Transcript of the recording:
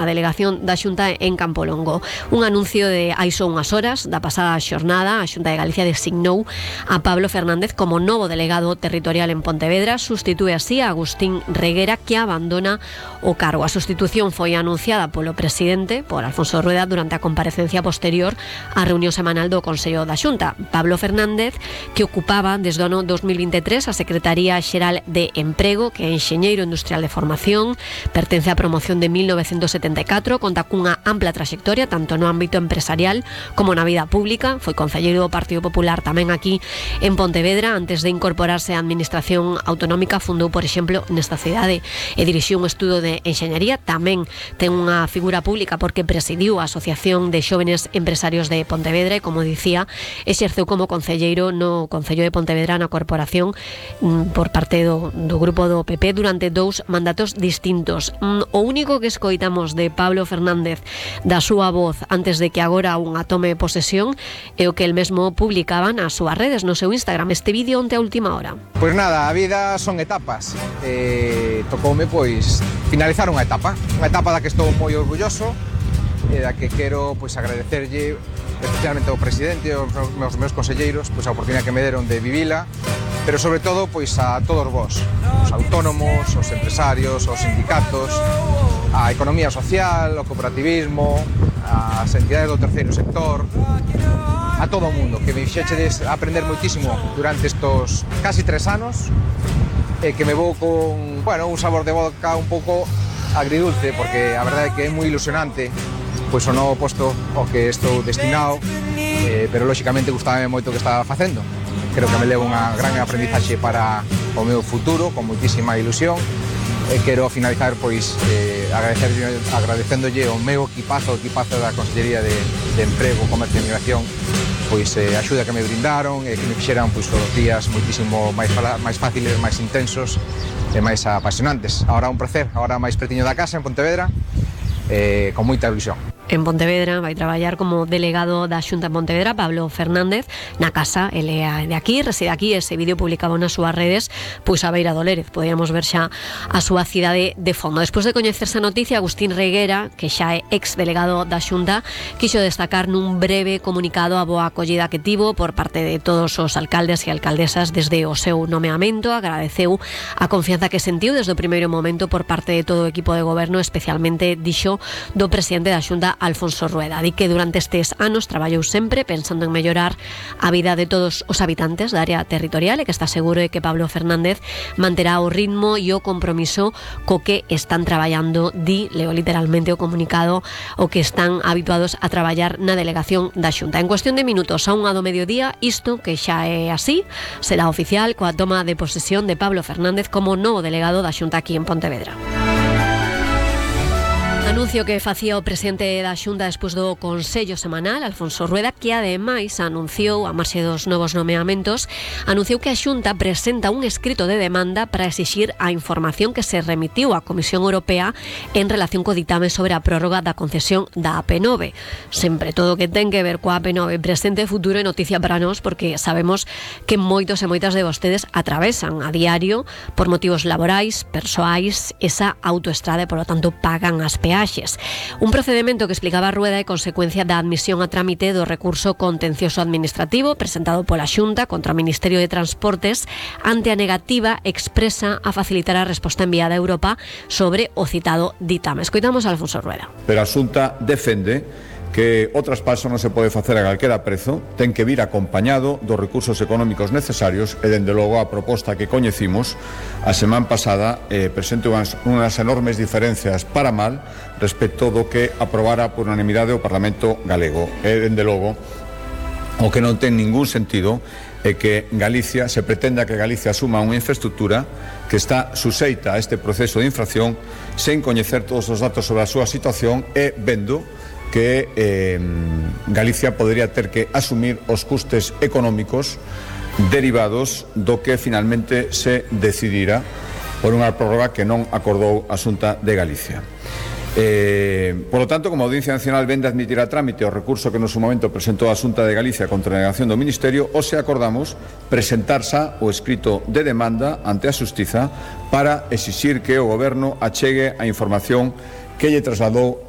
a delegación da Xunta en Campolongo. Un anuncio de hai só unhas horas da pasada xornada, a Xunta de Galicia designou a Pablo Fernández como novo delegado territorial en Pontevedra, sustitúe así a Agustín Reguera, que abandona o cargo. A sustitución foi anunciada polo presidente, por Alfonso Rueda, durante a comparecencia posterior á reunión semanal do Consello da Xunta. Pablo Fernández, que ocupaba desde o ano 2023 a Secretaría Xeral de Emprego, que é enxeñeiro industrial de formación, pertence á promoción de 1974, conta cunha ampla traxectoria tanto no ámbito empresarial como na vida pública. Foi concelleiro do Partido Popular tamén aquí en Pontevedra. Antes de incorporarse á Administración Autonómica, fundou, por exemplo, nesta cidade e dirixiu un estudo de enxeñaría. Tamén ten unha figura pública porque presidiu a Asociación de Xóvenes Empresarios de Pontevedra e, como dicía, exerceu como concelleiro no Concello de Pontevedra na corporación por parte do grupo do PP durante 2 mandatos distintos. O único que escoitamos de Pablo Fernández da súa voz antes de que agora unha tome posesión é o que el mesmo publicaba nas súas redes, no seu Instagram. Este vídeo onte a última hora. Pois nada, a vida son etapas. Tocoume pois finalizar unha etapa da que estou moi orgulloso e da que quero pois agradecerlle especialmente ao presidente e aos meus conselleiros pois a oportunidade que me deron de vivila, pero sobre todo pois a todos vós, os autónomos, os empresarios, os sindicatos, a economía social, o cooperativismo, as entidades do terceiro sector, a todo o mundo, que me fixechedes aprender moitísimo durante estos casi 3 anos, e que me vou con, bueno, un sabor de boca un pouco agridulce, porque a verdade é que é moi ilusionante pois o novo posto ao que estou destinado, pero lóxicamente gustaba moito o que estaba facendo. Creo que me levo unha gran aprendizaxe para o meu futuro, con moitísima ilusión. Quero finalizar pois agradecéndolle o meu equipazo da Consellería de Emprego, Comercio e Migración, pois a axuda que me brindaron e que me fixeran pois os días moitísimo máis fáciles, máis intensos e máis apasionantes. Ahora un placer, ahora máis pretiño da casa en Pontevedra, con moita ilusión. En Pontevedra vai traballar como delegado da Xunta en Pontevedra Pablo Fernández na casa, ele é de aquí, reside aquí. Ese vídeo publicado nas súas redes pois a beira do Lérez, podíamos ver xa a súa cidade de fondo. Despois de coñecerse a noticia, Agustín Reguera, que xa é ex delegado da Xunta, quixo destacar nun breve comunicado a boa acollida que tivo por parte de todos os alcaldes e alcaldesas desde o seu nomeamento. Agradeceu a confianza que sentiu desde o primeiro momento por parte de todo o equipo de goberno, especialmente, dixo, do presidente da Xunta, Alfonso Rueda. Di que durante estes anos traballou sempre pensando en mellorar a vida de todos os habitantes da área territorial e que está seguro de que Pablo Fernández manterá o ritmo e o compromiso co que están traballando. Di, leo literalmente o comunicado, o que están habituados a traballar na delegación da Xunta. En cuestión de minutos, a 1 do mediodía, isto que xa é así, será oficial coa toma de posesión de Pablo Fernández como novo delegado da Xunta aquí en Pontevedra. Anuncio que facía o presidente da Xunta despois do Consello Semanal, Alfonso Rueda, que ademais anunciou, a marxe dos novos nomeamentos, anunciou que a Xunta presenta un escrito de demanda para exixir a información que se remitiu á Comisión Europea en relación co ditame sobre a prórroga da concesión da AP9. Sempre todo o que ten que ver coa AP9, presente, futuro e noticia para nós, porque sabemos que moitos e moitas de vostedes atravesan a diario por motivos laborais, persoais, esa autoestrada e, por lo tanto, pagan as peaxes. Un procedemento que explicaba Rueda é consecuencia da admisión a trámite do recurso contencioso administrativo presentado pola Xunta contra o Ministerio de Transportes ante a negativa expresa a facilitar a resposta enviada a Europa sobre o citado ditame. Escoitamos a Alfonso Rueda. Pero a Xunta defende que o traspaso non se pode facer a calquera prezo, ten que vir acompañado dos recursos económicos necesarios e, dende logo, a proposta que coñecimos a semana pasada presente unhas enormes diferencias para mal respecto do que aprobara por unanimidade o Parlamento galego. E, dende logo, o que non ten ningún sentido é que Galicia, se pretenda que Galicia asuma unha infraestructura que está suxeita a este proceso de infracción sen coñecer todos os datos sobre a súa situación e vendo que Galicia podría ter que asumir os custes económicos derivados do que finalmente se decidira por unha prórroga que non acordou a Xunta de Galicia. Por lo tanto, como a Audiencia Nacional vende admitir a trámite o recurso que no seu momento presentou a Xunta de Galicia contra a negación do Ministerio, hoxe acordamos presentar xa o escrito de demanda ante a Xustiza para exixir que o Goberno achegue a información que lle trasladou a